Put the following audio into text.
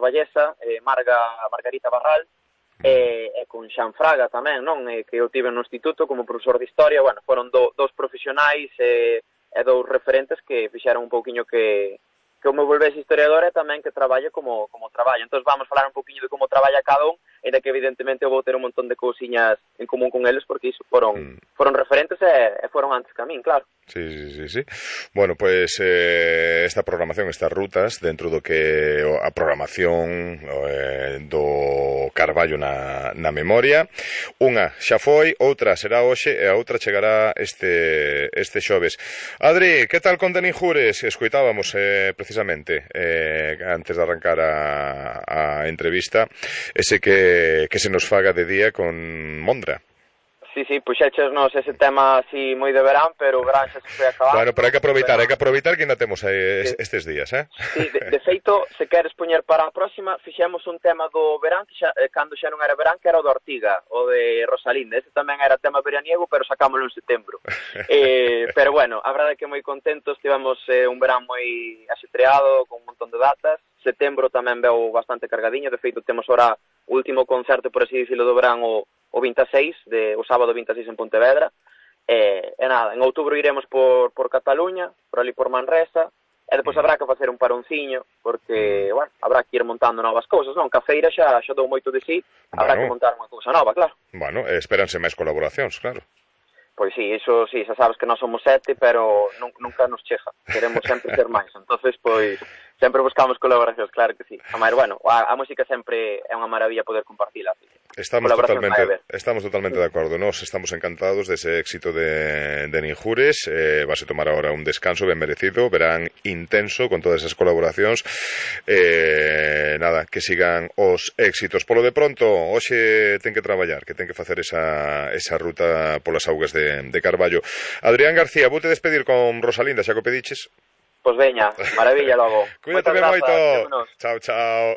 carballesa, Margarita Barral, e con Xan Fraga tamén, non? Que eu tive no instituto como profesor de historia. Bueno, foron dous profesionais e dous referentes que fixeron un pouquiño que eu me volvese historiador e tamén que traballe como traballo. Entón vamos falar un pouquiño de como traballa cada un, ainda que evidentemente eu vou ter un montón de cousiñas en común con eles, porque iso foron referentes e foron antes que a min, claro. Sí. Bueno, pues esta programación, estas rutas dentro do que a programación do Carballo na memoria, unha xa foi, outra será hoxe e a outra chegará este xoves. Adri, que tal con Deninjures? Escoitábamos precisamente antes de arrancar a entrevista ese que se nos faga de día con Mondra. Sí, puxéchenos ese tema así moi de verán, pero o verán xa se foi acabando. Bueno, pero hai que aproveitar que ainda temos estes días, Sí, de feito, se queres poñer para a próxima, fixemos un tema do verán, que cando xa non era verán, que era o do Ortiga, o de Rosalinda. Ese tamén era tema veraniego, pero sacámoslo en setembro. Pero bueno, a verdade é que moi contentos, tivemos un verán moi axetreado, con un montón de datas. Setembro tamén veu bastante cargadiño, de feito temos ora o último concerto, por así dicirlo, do verán, o 26, o sábado 26 en Pontevedra, e nada, en outubro iremos por Cataluña, por ali por Manresa, e depois habrá que facer un paronciño, porque, bueno, habrá que ir montando novas cousas, non? Cafeira xa dou moito de sí, habrá que montar unha cousa nova, claro. Bueno, espéranse máis colaboracións, claro. Pois sí, iso sí, xa sabes que nós somos 7, pero nunca nos chega, queremos sempre ser máis, entonces, pois, sempre buscamos colaboracións, claro que sí. A bueno, a música sempre é unha maravilla poder compartila. Estamos totalmente de acordo. Nós estamos encantados dese éxito de Ninjures. Vas a tomar agora un descanso ben merecido, verán intenso con todas esas colaboracións. Nada, que sigan os éxitos. Polo de pronto, hoxe ten que traballar, que ten que facer esa ruta polas augas de Carballo. Adrián García, voute despedir con Rosalinda, xa que o pediches. Pois veña, maravilla logo. Cuídate ben moito. Chao.